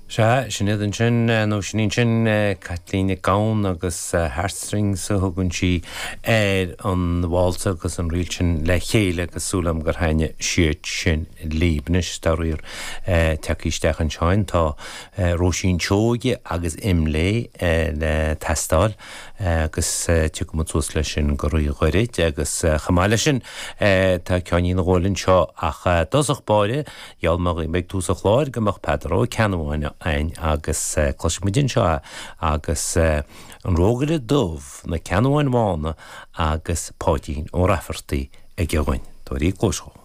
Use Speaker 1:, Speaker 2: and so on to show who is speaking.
Speaker 1: Sea, sin iad ansin, nó sin í ansin, Caitlín Nic Gabhann agus Heartstrings a thugann sí ar an válsa agus an ríl sin le chéile agus súil agam gur thaitnigh siad sin libh. Anois, dá réir tagtha isteach anseo, tá Róisín Seoige agus Imlé le teastáil agus tiocfaidh muid suas leis sin go réidh gairid agus chomh maith leis sin tá ceainnín a dhul anseo ach i dtosach báire Gheall mé dhaoibh ag tús an chláir go mbeadh Peadar Ó Ceannabháin againn agus cloisfidh muid anseo é agus An Rógaire Dubh, Na Ceannabháin Bhána agus Páidín Ó Raifeartaigh aige dhúinn. Tabhair cluas dhó.